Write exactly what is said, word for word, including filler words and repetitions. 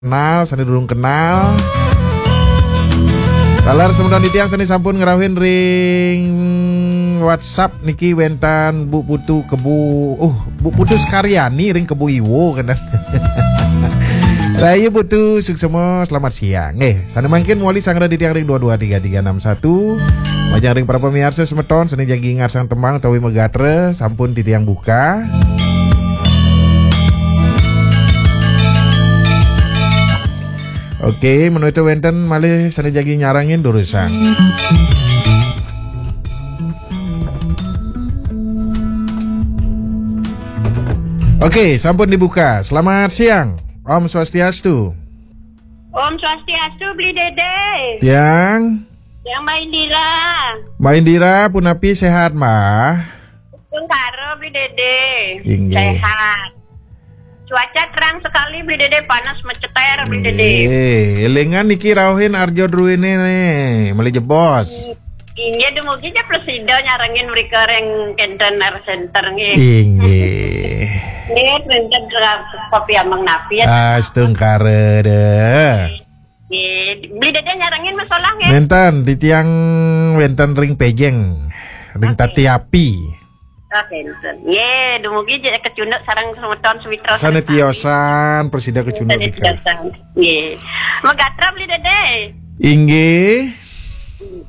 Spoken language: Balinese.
kenal, sané durung kenal. Taler semeton titiang sané sampun ngrauhin ring WhatsApp niki wénten Bu Putu Kebo, uh, Bu Putu Sekaryani ring Kebo Iwo kenten. Rahayu Putu, suksma, selamat siang. Nggih, sané mangkin mawali sanggra titiang ring dua dua tiga tiga enam satu. Majeng ring para pamiarsa semeton sané jagi ngarsang tembang utawi magatra sampun titiang buka. Oke, menawi wénten malih sané jagi nyarengin durusang. Oke, sampun dibuka. Selamat siang. Om Swastiastu. Om Swastiastu, Bli Dede. Tiang. Tiang Mbak Indira. Mbak Indira, punapi, sehat, Mbak? Tungkara, Bli Dede. Inggih. Sehat. Cuaca terang sekali, Bli Dede, panas meceter, Bli Dede. Inggih. Élingan niki rauhin Arjo Druéné nih, malih jebos. Inggih, dumugi ja prasida nyarengin mrika ring Kenten Art Center nggih. Inggih. Nggih, Kenten Kopi Amang Napi ya. Astungkara deh. Nggih, Bli Dede nyarengin masalah nggih. Nénten, titiang wénten ring Pejeng, ring Oke. Tati Api. Oke, nénten. Nggih, dumugi ja kecunduk sareng semeton Sumitra sané sareng sami. Tiosan, prasida kecunduk Sané nika. Tiosan. Nggih. Magatra, Bli Dede. Inggih.